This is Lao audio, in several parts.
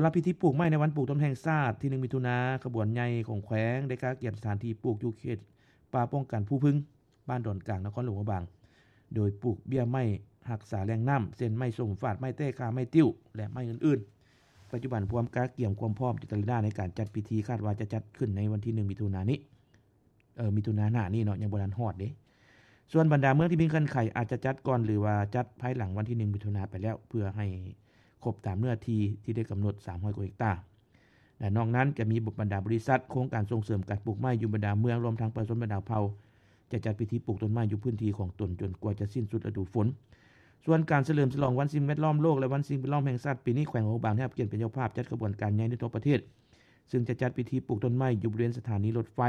ສຳລັບພິທີປູກໄມ້ໃນວັນປູກຕົ້ນໄມ້ແຫ່ງຊາດທີໜຶ່ງ ມິຖຸນາ, ຂະບວນໃຫຍ່ຂອງແຂວງໄດ້ກະກຽມສະຖານທີ່ປູກຢູ່ເຂດປ່າປ້ອງກັນພູພຶງ, ບ້ານດອນກາງ, ນະຄອນຫຼວງພະບາງ, ໂດຍປູກເບ້ຍໄມ້ຮັກສາແຫຼ່ງນ້ຳ ເຊັ່ນ ໄມ້ສົ້ມຟາດ, ໄມ້ແຕ້ຂ້າ, ໄມ້ຕິ້ວ ແລະ ໄມ້ອື່ນໆ. ປັດຈຸບັນພວມກະກຽມຄວາມພ້ອມຢູ່ແຕ່ລະດ້ານໃນການຈັດພິທີ, ຄາດວ່າຈະຈັດຂຶ້ນໃນວັນທີໜຶ່ງ ມິຖຸນານີ້. ເອີ ມິຖຸນາໜ້ານີ້ເນາະ, ຍັງບໍ່ທັນຮອດເດ້. ສ່ວນບັນດາເມືອງທີ່ມີເງື່ອນໄຂອາດຈະຈັດກ່ອນ ຫຼືວ່າຈັດພາຍຫຼັງວັນທີໜຶ່ງ ມິຖຸນາໄປແລ້ວ ເພື່ອໃຫ້ຄົບຕາມເນື້ອທີ່ທີ່ໄດ້ກຳນົດ ສາມຮ້ອຍກວ່າເຮັກຕາ. ແລະ ນອກນັ້ນຈະມີບັນດາບໍລິສັດ, ໂຄງການສົ່ງເສີມການປູກໄມ້ຢູ່ບັນດາເມືອງ, ລວມທັງປະຊາຊົນບັນດາເຜົ່າ ຈະຈັດພິທີປູກຕົ້ນໄມ້ຢູ່ພື້ນທີ່ຂອງຕົນຈົນກວ່າຈະສິ້ນສຸດລະດູຝົນ. ສ່ວນການສະເຫຼີມສະຫຼອງວັນສິ່ງແວດລ້ອມໂລກ ແລະ ວັນສິ່ງແວດລ້ອມແຫ່ງຊາດ, ປີນີ້ແຂວງຫຼວງພະບາງໄດ້ຮັບກຽດເປັນເຈົ້າພາບຈັດຂະບວນການໃຫຍ່ໃນທົ່ວປະເທດ, ເຊິ່ງຈະຈັດພິທີປູກຕົ້ນໄມ້ຢູ່ບໍລິເວນສະຖານີລົດໄຟ.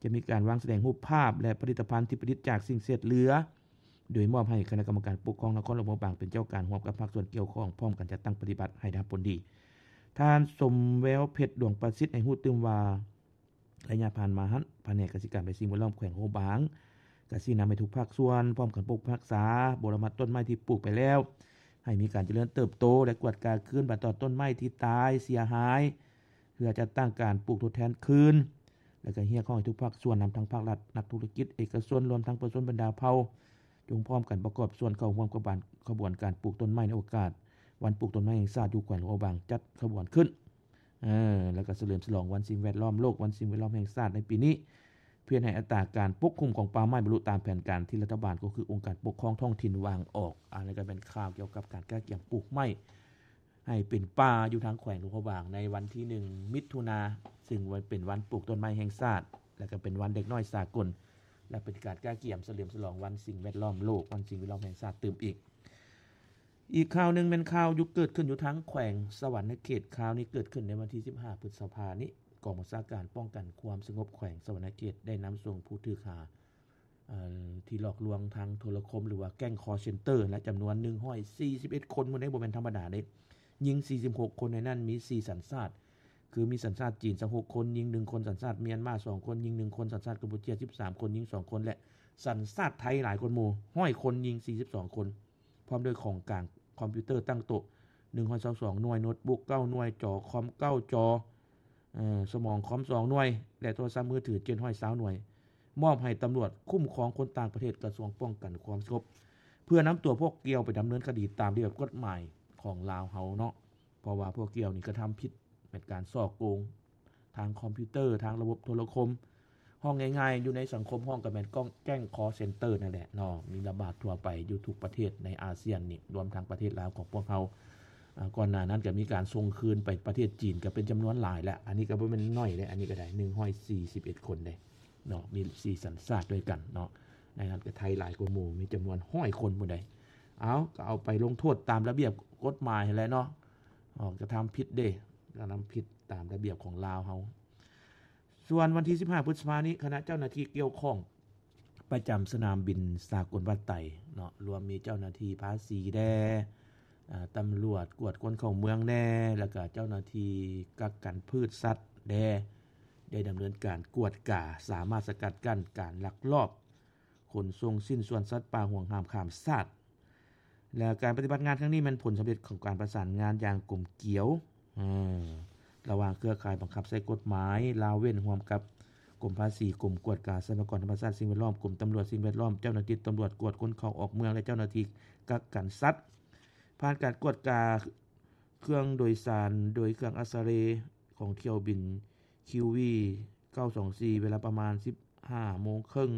ຈະມີການວາງສະແດງຮູບພາບ ແລະ ຜະລິດຕະພັນທີ່ຜະລິດຈາກສິ່ງເສດເຫຼືອ, ໂດຍມອບໃຫ້ຄະນະກຳມະການປົກຄອງນະຄອນຫຼວງພະບາງເປັນເຈົ້າການ ຮ່ວມກັບພາກສ່ວນກ່ຽວຂ້ອງ ພ້ອມກັນຈັດຕັ້ງປະຕິບັດໃຫ້ໄດ້ຮັບຜົນດີ. ທ່ານ ສົມແວວເພັດ ດວງປະສິດ ໃຫ້ຮູ້ຕື່ມວ່າ ໄລຍະຜ່ານມາຫັ້ນ ພະແນກກະສິກຳ ແລະ ສິ່ງແວດລ້ອມແຂວງຫຼວງພະບາງ ກະຊີ້ນຳໃຫ້ທຸກພາກສ່ວນພ້ອມກັນປົກປັກຮັກສາ, ບົວລະບັດຕົ້ນໄມ້ທີ່ປູກໄປແລ້ວ ໃຫ້ມີການຈະເລີນເຕີບໂຕ ແລະ ກວດກາຄືນບັດຕອນຕົ້ນໄມ້ທີ່ຕາຍເສຍຫາຍ ເພື່ອຈັດຕັ້ງການປູກທົດແທນຄືນ ແລະ ກະຮຽກຮ້ອງໃຫ້ທຸກພາກສ່ວນ ນຳທັງພາກລັດ, ນັກທຸລະກິດເອກະຊົນ, ລວມທັງປະຊາຊົນບັນດາເຜົ່າ ຈົ່ງພ້ອມກັນປະກອບສ່ວນເຂົ້າຮ່ວມຂະບວນ ຂະບວນການປູກຕົ້ນໄມ້ໃນໂອກາດວັນປູກຕົ້ນໄມ້ແຫ່ງຊາດ ຢູ່ແຂວງຫຼວງພະບາງ ຈັດຂະບວນຂຶ້ນ ເອີ ແລ້ວກໍສະເຫຼີມສະຫຼອງວັນສິ່ງແວດລ້ອມໂລກ, ວັນສິ່ງແວດລ້ອມແຫ່ງຊາດໃນປີນີ້ ເພື່ອໃຫ້ອັດຕາການປົກຄຸມຂອງປ່າໄມ້ບັນລຸຕາມແຜນການທີ່ລັດຖະບານ ກໍຄືອົງການປົກຄອງທ້ອງຖິ່ນວາງອອກ. ອັນນີ້ກໍເປັນຂ່າວກ່ຽວກັບການກະກຽມປູກໄມ້ໃຫ້ເປັນປ່າຢູ່ທາງແຂວງຫຼວງພະບາງ ໃນວັນທີໜຶ່ງ ມິຖຸນາ, ຊຶ່ງເປັນວັນປູກຕົ້ນໄມ້ແຫ່ງຊາດ ແລະ ກໍເປັນວັນເດັກນ້ອຍສາກົນ ແລະ ເປັນການກະກຽມສະເຫຼີມສະຫຼອງວັນສິ່ງແວດລ້ອມໂລກ, ວັນສິ່ງແວດລ້ອມແຫ່ງຊາດຕື່ມອີກ. ອີກຂ່າວໜຶ່ງແມ່ນຂ່າວຢູ່ ເກີດຂຶ້ນຢູ່ທາງແຂວງສະຫວັນນະເຂດ. ຂ່າວນີ້ເກີດຂຶ້ນໃນວັນທີສິບຫ້າ ພຶດສະພານີ້. ກອງບັນຊາການປ້ອງກັນຄວາມສະຫງົບແຂວງສະຫວັນນະເຂດ ໄດ້ນຳສົ່ງຜູ້ຖືກຫາ ເອີ ທີ່ຫຼອກລວງທາງໂທລະຄົມ ຫຼືວ່າແກ້ງຄໍເຊັນເຕີ ແລະ ຈຳນວນໜຶ່ງຮ້ອຍສີ່ສິບເອັດຄົນ. ມື້ນີ້ບໍ່ແມ່ນທຳມະດາເດ້, ຍິງສີ່ສິບຫົກຄົນ, ໃນນັ້ນມີສີ່ສັນຊາດ ຄືມີສັນຊາດຈີນຊາວຫົກຄົນ, ຍິງໜຶ່ງຄົນ, ສັນຊາດມຽນມາສອງຄົນ, ຍິງໜຶ່ງຄົນ, ສັນຊາດກຳປູເຈຍສິບສາມຄົນ, ຍິງສອງຄົນ ແລະ ສັນຊາດໄທຫຼາຍກວ່າໝູ່ ຮ້ອຍຄົນ, ຍິງສີ່ສິບສອງຄົນ. ພ້ອມດ້ວຍຂອງກາງຄອມພິວເຕີຕັ້ງໂຕະໜຶ່ງຮ້ອຍຊາວສອງໜ່ວຍ, ໂນດບຸກເກົ້າໜ່ວຍ, ຈໍຄອມເກົ້າຈໍ, ເອີ ສະໝອງຄອມສອງໜ່ວຍ ແລະ ໂທລະສັບມືຖືເຈັດຮ້ອຍຊາວໜ່ວຍ ມອບໃຫ້ຕຳຫຼວດຄຸ້ມຄອງຄົນຕ່າງປະເທດ ກະຊວງປ້ອງກັນຄວາມສະຫງົບ ເພື່ອນຳຕົວພວກກ່ຽວໄປດຳເນີນຄະດີຕາມລະບຽບກົດໝາຍຂອງລາວເຮົາເນາະ. ເພາະວ່າພວກກ່ຽວນີ້ກະທຳຜິດ ແມ່ນການສໍ້ໂກງທາງຄອມພິວເຕີ, ທາງລະບົບໂທລະຄົມ. ເວົ້າງ່າຍໆ ຢູ່ໃນສັງຄົມຮ້ອງກະແມ່ນກ້ອງ ແກ້ງຄໍເຊັນເຕີນັ້ນແຫຼະເນາະ, ມີລະບາດທົ່ວໄປຢູ່ທຸກປະເທດໃນອາຊຽນນີ້ ລວມທັງປະເທດລາວຂອງພວກເຮົາ. ອາ ກ່ອນໜ້ານັ້ນກະມີການສົ່ງຄືນໄປປະເທດຈີນກະເປັນຈຳນວນຫຼາຍແລ້ວ. ອັນນີ້ກະບໍ່ແມ່ນໜ້ອຍເດ້, ອັນນີ້ກະໄດ້ໜຶ່ງຮ້ອຍສີ່ສິບເອັດຄົນເດ້ເນາະ, ມີສີ່ສັນຊາດດ້ວຍກັນເນາະ. ໃນນັ້ນກະໄທຫຼາຍກວ່າໝູ່, ມີຈຳນວນຮ້ອຍຄົນພຸ້ນໃດ. ເອົາ ກະເອົາໄປລົງໂທດຕາມລະບຽບກົດໝາຍຫັ້ນແຫຼະເນາະ. ເອົາ ກະທຳຜິດເດ້, ກະທຳຜິດຕາມລະບຽບຂອງລາວເຮົາ. ສ່ວນວັນທີສິບຫ້າ ພຶດສະພານີ້ ຄະນະເຈົ້າໜ້າທີ່ກ່ຽວຂ້ອງປະຈຳສະໜາມບິນສາກົນວັດໄຕເນາະ, ລວມມີເຈົ້າໜ້າທີ່ພາສີແດ່, ອາ ຕຳຫຼວດກວດຄົນເຂົ້າເມືອງແດ່ ແລ້ວກະເຈົ້າໜ້າທີ່ກັກກັນພືດສັດແດ່ ໄດ້ດຳເນີນການກວດກາ, ສາມາດສະກັດກັ້ນການລັກລອບຂົນສົ່ງຊິ້ນສ່ວນສັດປ່າຫວງຫ້າມຂ້າມຊາດ. ແລະ ການປະຕິບັດງານຄັ້ງນີ້ແມ່ນຜົນສຳເລັດຂອງການປະສານງານຢ່າງກົມກຽວ ເອີ ລະຫວ່າງເຄືອຂ່າຍບັງຄັບໃຊ້ກົດໝາຍລາວເວັ້ນ ຮ່ວມກັບກົມພາສີ, ກົມກວດກາຊັບພະຍາກອນທຳມະຊາດ ສິ່ງແວດລ້ອມ, ກົມຕຳຫຼວດສິ່ງແວດລ້ອມ, ເຈົ້າໜ້າທີ່ຕຳຫຼວດກວດຄົນເຂົ້າອອກເມືອງ ແລະ ເຈົ້າໜ້າທີ່ກັກກັນສັດ. ຜ່ານການກວດກາເຄື່ອງໂດຍສານໂດຍເຄື່ອງອັກສະເຣ ຂອງຖ້ຽວບິນ ຄິວວີ ເກົ້າສອງສີ່ ເວລາປະມານສິບຫ້າໂມງເຄິ່ງ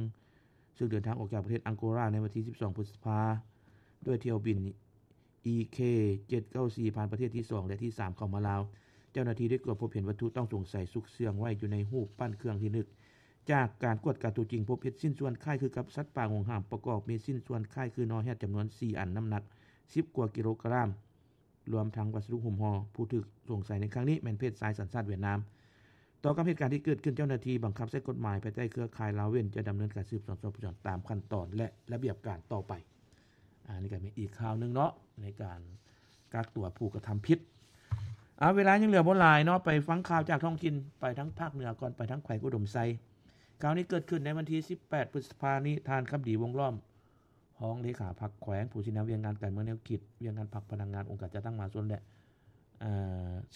ເຊິ່ງເດີນທາງອອກຈາກປະເທດອັງໂກລາໃນວັນທີສິບສອງ ພຶດສະພາ ດ້ວຍຖ້ຽວບິນ ອີ ເຄ ເຈັດເກົ້າສີ່ ຜ່ານປະເທດທີສອງ ແລະ ທີສາມ ເຂົ້າມາລາວ. ເຈົ້າໜ້າທີ່ໄດ້ກວດພົບເຫັນວັດຖຸຕ້ອງສົງໄສຊຸກເຊື່ອງໄວ້ຢູ່ໃນຮູບປັ້ນເຄື່ອງທີ່ລະນຶກ ຈາກການກວດກາຕົວຈິງ ພົບເຫັນຊິ້ນສ່ວນຄ້າຍຄືກັບສັດປ່າຫວງຫ້າມ ປະກອບມີຊິ້ນສ່ວນຄ້າຍຄືໜໍ່ແຮດຈຳນວນສີ່ອັນ ນ້ຳໜັກສິບກວ່າກິໂລກຣາມ ລວມທັງວັດສະດຸຫຸ້ມຫໍ່. ຜູ້ຖືກສົງໄສໃນຄັ້ງນີ້ແມ່ນເພດຊາຍສັນຊາດຫວຽດນາມ. ຕໍ່ກັບເຫດການທີ່ເກີດຂຶ້ນ, ເຈົ້າໜ້າທີ່ບັງຄັບໃຊ້ກົດໝາຍພາຍໃຕ້ເຄືອຂ່າຍລາວເວັ້ນ ຈະດຳເນີນການສືບສວນສອບສວນຕາມຂັ້ນຕອນ ແລະ ລະບຽບການຕໍ່ໄປ. ອັນນີ້ກະເປັນອີກຂ່າວໜຶ່ງເນາະ ໃນການກັກຕົວຜູ້ກະທຳຜິດ. ອາ ເວລາຍັງເຫຼືອບໍ່ຫຼາຍເນາະ, ໄປຟັງຂ່າວຈາກທ້ອງຖິ່ນ, ໄປທາງພາກເໜືອກ່ອນ, ໄປທາງແຂວງອຸດົມໄຊ. ຂ່າວນີ້ເກີດຂຶ້ນໃນວັນທີສິບແປດ ພຶດສະພານີ້, ທ່ານ ຄຳດີ ວົງລ້ອມ ຮອງເລຂາພັກແຂວງ, ຜູ້ຊີ້ນຳວຽກງານການເມືອງແນວຄິດ, ວຽກງານພັກ, ພະນັກງານອົງການຈັດຕັ້ງມະຫາຊົນ ແລະ ອ່າ ຊິ